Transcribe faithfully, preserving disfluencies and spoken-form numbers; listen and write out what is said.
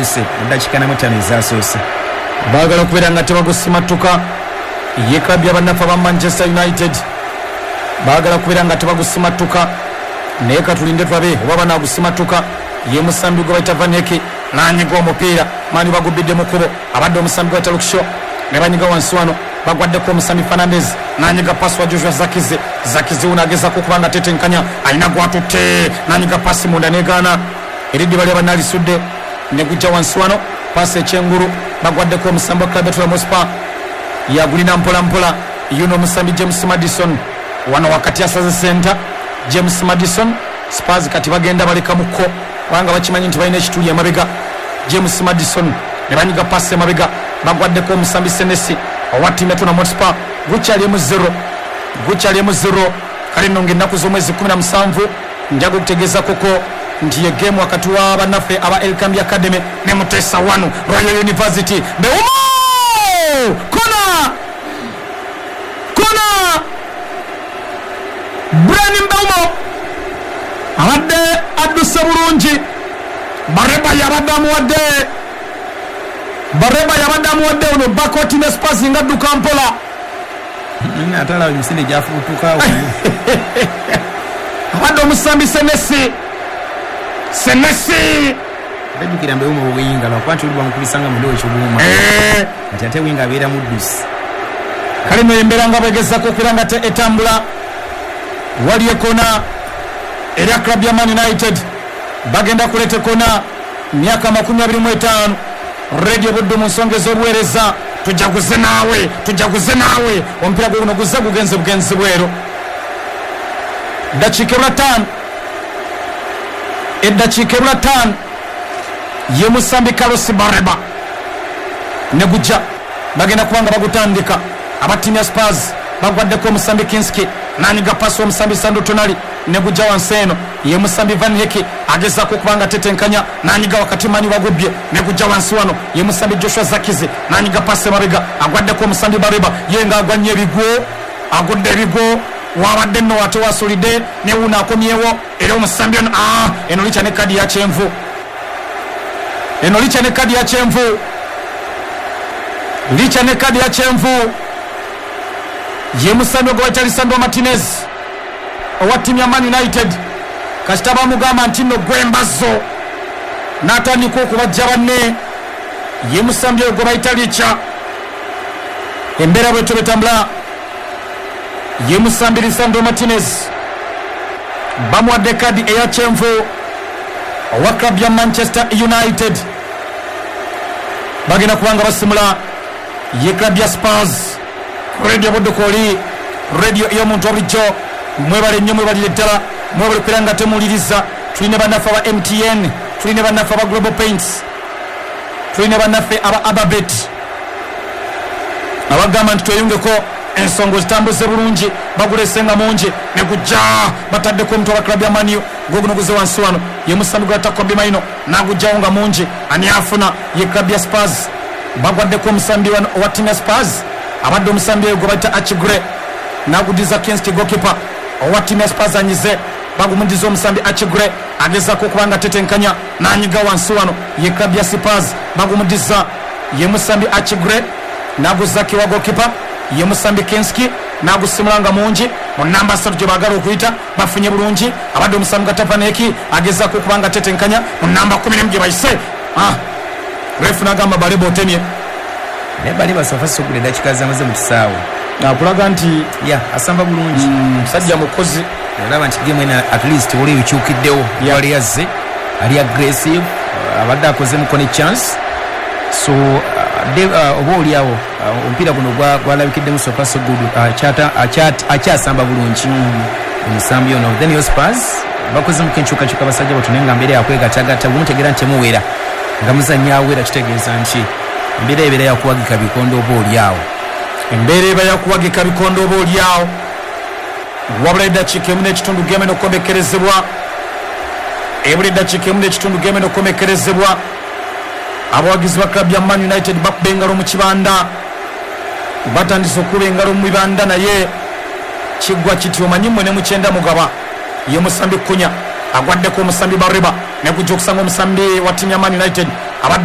Gatuuse mu ddakiika na mutaano ezasoose. Baagala okubeera nga tebagusimatuka. Ye club y'abannaffe aba Manchester United baagala kubeera nga tebagusimatuka, naye katulinde tulabe oba banaagusimatuka. Ye musambi gwe bayita Van Hecke n'anyiga omupiira, maani bagubbidde mu kkubo, abadde omusambi gwe bayita Luke Shaw ne banyiga wansi wano, bagwaddeko omusambi Fernandes n'anyiga pasi wa Joshua Zirkzee. Zirkzee wuno agezaako okuba nga tetenkanya, alina gwatutte n'anyiga pasi munda negaana, eriddiba lya bannalisudde ne gujja wansi wano, pasi ekyengulu bagwaddeko omusambi wa club ya Tottenham Hotspur, yagulina mpola mpola yuno omusambi James Maddison wano wakati asaze senta James Maddison. Spurs kati bagenda baleka mukko kubanga bakimanyi nti balina ekituli emabega. James Maddison ne banyiga pasi emabega, bagwaddeko omusambi Senesi owa ttiimu ya Tottenham Hotspur. Gukyali emu zero, gukyali emu zero. Kale nno ng'ennaku z'omwezi kumi na musanvu njaga okutegeeza koko nti ye game wakati wa bannaffe aba Elkambi Academy ne Mutesa wano Royal University. Mbeumo kona kona, Brian Mbeumo abadde adduse bulungi, Bareba yabadde amuwadde, Bareba yabadde amuwadde ono bakoti ne Spurs nga adduka mpola. Atala emisinde gyafuutuka abadde omusambi Senesi, Senesi bajjukira Mbeumo bweyinga lwakuba nti oli bamukubisanga mu ndowo ekyobuuma nti ate winga abeera muddusi. Kale nno embeera nga bwegezaako okubeera nga te etambula. Wali ekona era club ya Man United bagenda kuleeta ekona, myaka makumi abiri mu etaano. Radio Buddu mu nsonga ez'obuweereza, tujaguze naawe, tujaguze naawe. Omupiira gwe guno guzze gugenze bugenzi bweru. Ddakiika ebula ttaano, eddakiika ebula ttaano, ye musambi Carlos Bareba ne gujja, bagenda kuba nga bagutandika. Aba ttiimu ya Spurs bagwaddeko omusambi Kinski n'anyiga pasi omusambi Sandro Tonali ne gujja wansi eno, ye musambi Van Hecke agezaako okuba nga tetenkanya n'anyiga wakati mani bagubbye ne gujja wansi wano, ye musambi Joshua Zirkzee n'anyiga pasi emabega, agwaddeko omusambi Bareba ye ng'agwa nnyo ebigwo, agudde ebigwo wabadde nno ate wasulidde ne wuno akomyewo era omusambi ono aa eno licha ne kadi ya kyenvu, eno licha ne kadi ya kyenvu, licha ne kadi ya kyenvu. Ye musambi ogwo bayita Lisandro Martinez owa ttiimu ya Man United. Kasita bamugamba nti nno gwembazo n'atandika okubajja banne. Ye musambi ogwo bayita Licha. Embeera bwetyo bwetambula. Ye musambi Lisandro Martinez bamuwadde kadi eya kyenvu owa club ya Manchester United. Bagenda kubanga basimula ye club ya Spurs. Radio Buddu kwoli radio ey'omuntu bulijjo, mwebale nnyo, mwebalire ddala, mwebale kubeera nga temuwuliriza. Tulina bannaffe aba M T N, tulina bannaffe aba Global Paints, tulina bannaffe aba Ababet abagamba nti tweyungeko ensonga zitambuze bulungi, bagulese nga mungi ne gujja bataddeko omuntu aba club ya Man U gwoguno guze wansi wano, ye musambi gwa Kobbie Mainoo n'agujjawo nga mungi. Ani afuna ye club ya Spurs, bagwaddeko omusambi wano owa ttiimu ya Spurs abadde omusambi oyo gwe bayita Achigre n'agudiza Kinski goalkeeper owa ttiimu ya Spurs anyize, bagumudiza omusambi Achigre agezaako okuba nga tetenkanya n'anyiga wansi wano, ye club ya Spurs bagumudiza ye musambi Achigre n'aguza kiwa goalkeeper ye musambi Kinski n'agusimula nga mungi mu namba ssatu gye baagala okuyita, bafunye bulungi. Abadde omusambi Gatavaneki agezaako okuba nga tetenkanya mu namba kumi n'emu gye bayise. Ah, refu n'agamba Baleba otemye. Naye Baleba sofa sogula eddakiika zamaze mu kisaawe akulaga nti ya asamba bulungi, musajja mukozi. Olaba nti game eno at least waliwo ebikyukiddewo, wali yazze ali aggressive, abadde akozemuko ne chance. So oba oliawo omupiira guno gwalabikiddemu so far so good, akyasamba bulungi omusambi ono. Then yo Spurs bakozemuko enkyukakyuka basajja bato, naye nga mbeera yakwegattagatta bwemutegeera nti temuwera nga muzannya awera, kitegeeza nti embeera ebeera yakuwagika bikondo oba oliawo, embeera eba yakuwagika bikondo oba oliawo. Wabula eddakiika emu n'ekitundu game eno okukomekkerezebwa, ebula eddakiika emu n'ekitundu game eno okukomekkerezebwa. Abawagizi ba club ya Man United bakuba engalo mu kibanda, batandise okukuba engalo mu bibanda, naye kiggwa kiti omanyi mmwe ne mukyenda mugaba. Ye musambi Kunya agwaddeko omusambi Bareba ne gujja okusanga omusambi wa ttiimu ya Man United